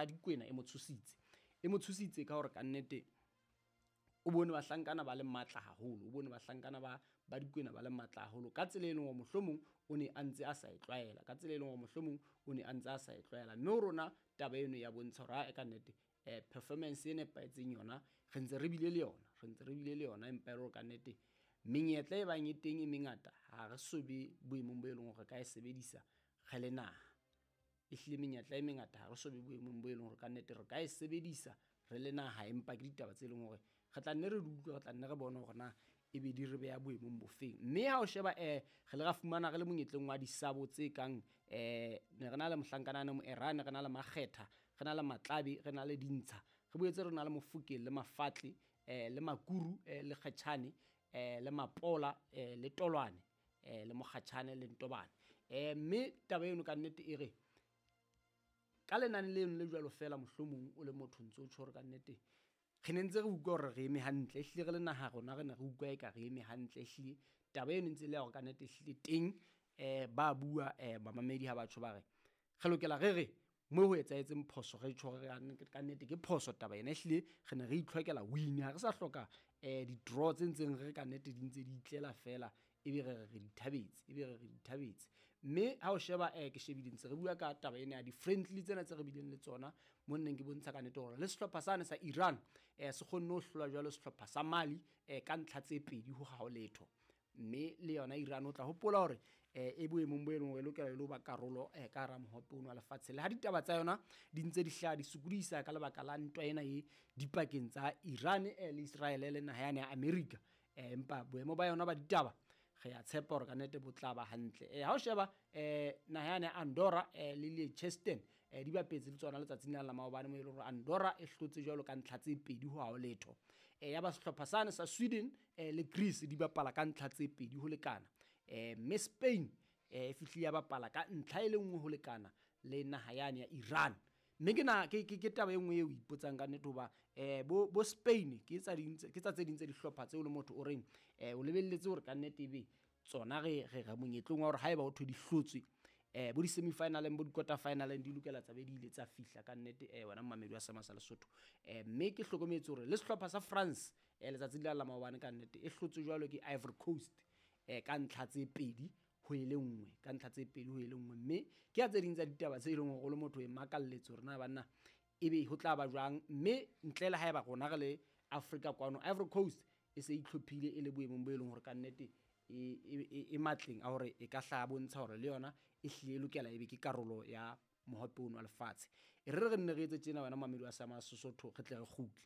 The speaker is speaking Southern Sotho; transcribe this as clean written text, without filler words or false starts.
Dikwena e mo tshositse. E mo tshositse ka hore kannete o bone bahlankana ba le matla haholo, o bone bahlankana ba ba Dikwena ba le matla haholo ka tsela e leng hore mohlomong o ne a ntse a sa e tlwaela, ka tsela e leng hore mohlomong o ne a ntse a sa e tlwaela. Mme ho rona taba eno ya bontsha hore ae ka nnete performance e nepahetseng yona re ntse re bile le yona, re ntse re bile le yona, empa e le hore kannete menyetla e bang e teng e mengata ha re so be boemong bo e leng hore re ka e sebedisa re le naha. Ehlile menyetla e mengata ha re so be boemong bo e leng hore kannete re ka e sebedisa re le naha, empa ke ditaba tse leng hore re tla nne re di utlwe, re tla nne re bone hore na ebe di re beha boemong bofeng. Mme ha o sheba re le ra fumana re le monyetleng wa disabo tse kang ne re na le mohlankana ane Moerane, re na le Makgetha, re na le Matlabe, re na le Dintsha, re boetse re na le Mofokeng le Mafatle, le Makuru, le Kgetjhane, le Mapola, le Tolwane, le Mokgatjhane le Ntobane. Mme taba eno ka nnete e re ka lenane leno le jwalo fela, mohlomong o le motho ntse o tjho hore ka nnete re ne ntse re utlwa hore re eme hantle, ehlile re le naha rona re ne re utlwa eka re eme hantle, ehlile taba eno ntse e le ya hore ka nnete ehlile teng ba bua bamamedi ha batjho ba re re lokela re re mo ho etsahetseng phoso re tjho hore ka nnete ke phoso taba ena, ehlile re ne re itlhokela win, ha re sa hloka di-draw tse ntseng re ka nnete di ntse di itlela fela, ebe re re re di thabetse, ebe re re di thabetse. Mme ha o sheba ke shebile ntse re bua ka taba ena ya di-friendly tsena tse re bileng le tsona, mo nneng ke bontsha ka nnete hore le sehlopha sane sa Iran se kgonne ho hlola jwalo sehlopha sa Mali ka ntlha tse pedi ho ha ho letho. Mme le yona Iran o tla hopola hore e boemong bo e leng hore e lokela e le ho ba karolo ka hara mohope ono wa lefatshe. Le ha ditaba tsa yona di ntse di hlaha di sokodisa ka lebaka la ntwa ena e dipakeng tsa Iran le Israel le naha yane ya America, empa boemo ba yona ba ditaba re a tshepa hore ka nnete bo tla ba hantle. Ha o sheba naha yane ya Andorra le Liechtenstein di bapetse le tsona letsatsing la maobane, mo e leng hore Andorra e hlotse jwalo ka ntlha tse pedi ho ha ho letho. Ya ba sehlopha sane sa Sweden le Greece di bapala ka ntlha tse pedi ho lekana. Mme Spain e fihlile ya bapala ka ntlha e le nngwe ho lekana le naha yane ya Iran. Mme ke na ke ke taba e nngwe eo o ipotsang ka nnete hoba bo Spain ke tsa ding ke tsa tse ding tse dihlopha tseo le motho o reng o lebelletse hore ka nnete ebe tsona re re re monyetleng wa hore haeba ho thwe di hlotswe bo di-semi-finaleng bo di-quarter finaleng di lokela tsa be di ile tsa fihla ka nnete wena momamedi wa Seema sa Lesotho. Mme ke hlokometse hore le sehlopha sa France letsatsing la la maobane ka nnete e hlotswe jwalo ke Ivory Coast ka ntlha tse pedi ho e le nngwe, ka ntlha tse pedi ho e le nngwe. Mme ke ya tse ding tsa ditaba tse e leng hore o le motho e makalletse hore na banna ebe ho tla ba jwang. Mme ntle le haeba rona re le Africa kwano, Ivory Coast e se itlhophile e le boemong bo e leng hore ka nnete e matleng a hore e ka hlaha bontsha hore le yona e hlile e lokela ebe ke karolo ya mohope ono wa lefatshe. E re re nne re etse tjena wena momamedi wa Seema sa Sesotho, re tle re kgutle.